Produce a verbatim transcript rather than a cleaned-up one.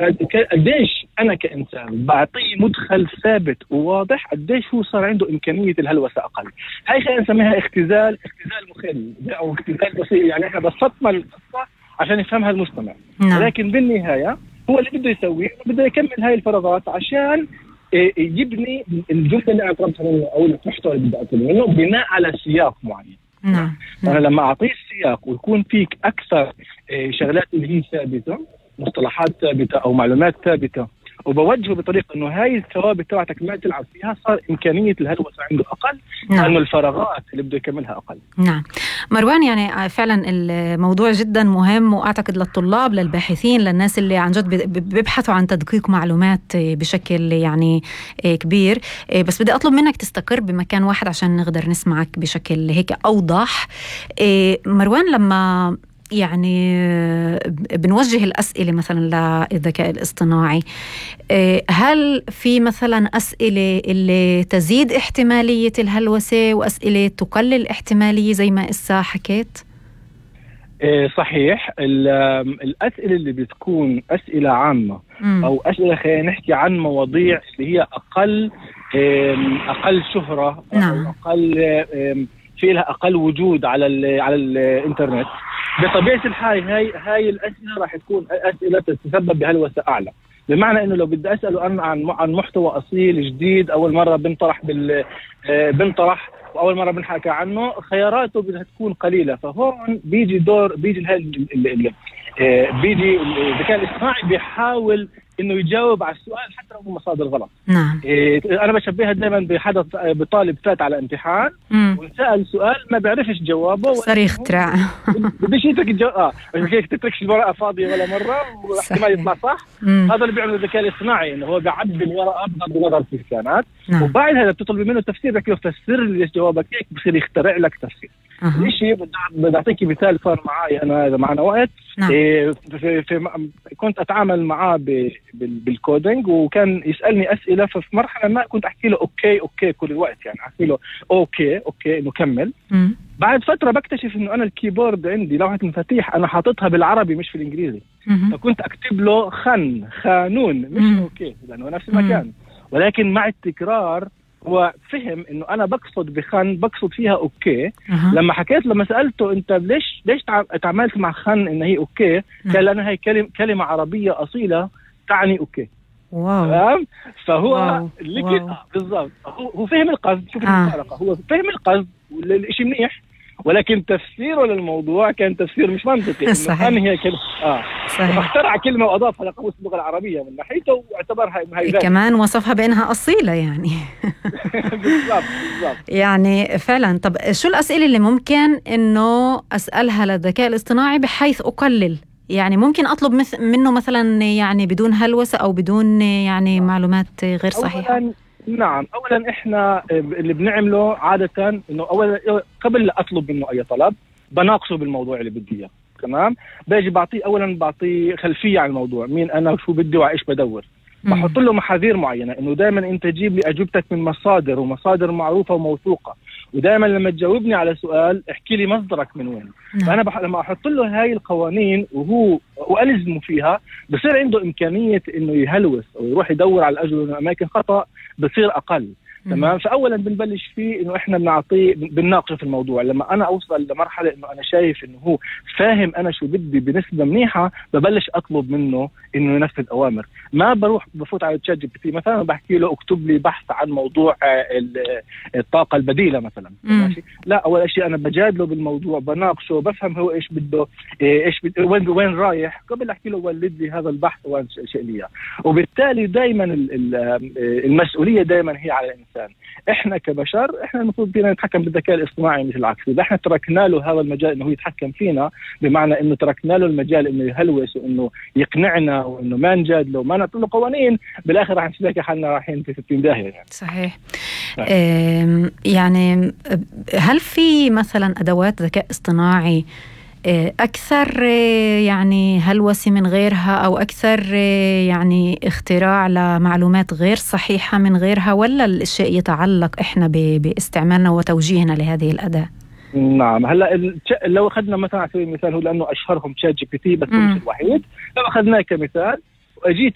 قديش أنا كإنسان بعطيه مدخل ثابت وواضح، قديش هو صار عنده إمكانية الهلوسة أقل. هاي خلينا نسميها اختزال اختزال مخل أو اختزال بسيط، يعني إحنا بسطنا القصة عشان يفهمها المستمع. نعم. لكن بالنهاية هو اللي بده يسويه بده يكمل هاي الفراغات عشان يبني الجملة اللي أقربها منه أو المحتوى اللي بدي أقربه منه بناء على سياق معين. نعم. أنا لما أعطيه السياق ويكون فيك أكثر شغلات اللي هي ثابتة، مصطلحات ثابتة أو معلومات ثابتة، وبوجهه بطريقة إنه هاي الثوابت تبعتك ما تلعب فيها، صار إمكانية الهلوسة عنده أقل. نعم. لأنه الفراغات اللي بده يكملها أقل. نعم مروان، يعني فعلا الموضوع جدا مهم، وأعتقد للطلاب للباحثين للناس اللي عن جد بيبحثوا عن تدقيق معلومات بشكل يعني كبير. بس بدي أطلب منك تستقر بمكان واحد عشان نقدر نسمعك بشكل هيك أوضح. مروان، لما يعني بنوجه الأسئلة مثلا للذكاء الاصطناعي، هل في مثلا أسئلة اللي تزيد احتمالية الهلوسة وأسئلة تقلل احتمالية زي ما إسا حكيت؟ صحيح. الأسئلة اللي بتكون أسئلة عامة م. أو أسئلة خلينا نحكي عن مواضيع اللي هي أقل أقل شهرة. نعم. أو أقل في لها أقل وجود على ال على الإنترنت، بطبيعة الحال هاي هاي الأسئلة راح تكون أسئلة تتسبب بهلوسة أعلى. بمعنى إنه لو بدي أسأله عن عن محتوى أصيل جديد أول مرة بنطرح بال بنطرح وأول مرة بنحكي عنه، خياراته بدها تكون قليلة. فهون بيجي دور بيجي هاي بيجي الذكاء الاصطناعي بيحاول إنه يجاوب على السؤال حتى لو مصادر غلط. نعم. إيه أنا بشبهها دايما بحدث بطالب فات على امتحان وسأل سؤال ما بيعرفش جوابه، صريخ ترى بديش يترك الجواب اه مش هيك تتركش الورقة فاضية ولا مرة واحتمال يطلع صح. مم. هذا اللي بيعمله الذكاء الاصطناعي، إنه هو بيعبي الورقة بغض النظر في الكلمات. نعم. وبعد هذا بتطلب منه تفسير، بك يفسر لي ليش جوابك هيك، بصير يخترع لك تفسير. أه. الشيء بدي أعطيك مثال صار معي أنا إذا معنا وقت. نعم. إيه في في كنت أتعامل معاه بالكودينج وكان يسألني أسئلة، ففي مرحلة ما كنت أحكي له أوكي أوكي كل الوقت، يعني أحكي له أوكي أوكي إنه كمل. م. بعد فترة بكتشف إنه أنا الكيبورد عندي لوحة مفاتيح أنا حاططها بالعربي مش في الإنجليزي. م. فكنت أكتب له خن خانون مش م. أوكي لأنه نفس المكان. م. ولكن مع التكرار هو فهم إنه أنا بقصد بخن بقصد فيها أوكي. أه. لما حكيت لما سألته أنت ليش ليش تعاملت مع خن إن هي أوكي، قال لأنها هي كلمة كلمة عربية أصيلة تعني أوكي. واو. فهو اللي كده بالضبط هو هو فهم القصد. شوف آه. الفارقة، هو فهم القصد والشيء منيح، ولكن تفسيره للموضوع كان تفسير مش منطقي. صحيح. هي كلمة اه فاخترع كلمة وأضافها لقاموس اللغة العربية من ناحيته واعتبرها هي كمان وصفها بأنها أصيلة يعني. بالضبط بالضبط. يعني فعلا. طب شو الأسئلة اللي ممكن إنه أسألها للذكاء الاصطناعي بحيث أقلل، يعني ممكن أطلب مث- منه مثلا يعني بدون هلوسة أو بدون يعني معلومات غير صحيحة؟ أولاً نعم، أولا إحنا اللي بنعمله عادة إنه أولا قبل لا أطلب منه أي طلب بناقشه بالموضوع اللي بدي إياه. تمام. باجي بعطيه أولا بعطيه خلفية عن الموضوع، مين أنا وشو بدي وعيش بدور. بحط له محاذير معينة إنه دائما أنت تجيب لي أجوبتك من مصادر ومصادر معروفة وموثوقة، ودائما لما تجاوبني على سؤال احكي لي مصدرك من وين. نعم. فأنا بح... لما أحط له هاي القوانين وهو وألزمه فيها بصير عنده إمكانية إنه يهلوس أو يروح يدور على الأجوبة من أماكن خطأ بصير أقل. تمام. فأولا بنبلش فيه إنه إحنا بنعطيه بنناقشه في الموضوع. لما أنا أوصل لمرحلة إنه أنا شايف إنه هو فاهم أنا شو بدي بنسبة منيحة، ببلش أطلب منه إنه ينفذ أوامر. ما بروح بفوت على تشات جي بي تي مثلا بحكي له اكتب لي بحث عن موضوع الطاقة البديلة مثلا. ماشي. لا، أول شيء أنا بجادله بالموضوع، بناقشه، بفهم هو إيش بده، إيش بده، وين وين رايح، قبل أحكي له ولد لي هذا البحث وين شيء لي. وبالتالي دائما المسؤولية دائما هي على الإنسان. إحنا كبشر إحنا المفروض فينا نتحكم بالذكاء الاصطناعي مش العكس. إذا إحنا تركنا له هذا المجال إنه هو يتحكم فينا، بمعنى إنه تركنا له المجال إنه يهلوس وإنه يقنعنا وإنه ما نجادله وما نعطي له قوانين، بالآخر راح نشوف حالنا رايحين في ستين داهية يعني. صحيح. يعني هل في مثلا أدوات ذكاء اصطناعي أكثر يعني هلوسة من غيرها، أو أكثر يعني اختراع لمعلومات غير صحيحة من غيرها، ولا الشيء يتعلق إحنا باستعمالنا وتوجيهنا لهذه الأداة؟ نعم. هلا لو أخذنا مثلا على سبيل المثال، هو لأنه أشهرهم تشات جي بي تي بس مش الوحيد، لو أخذناه كمثال واجيت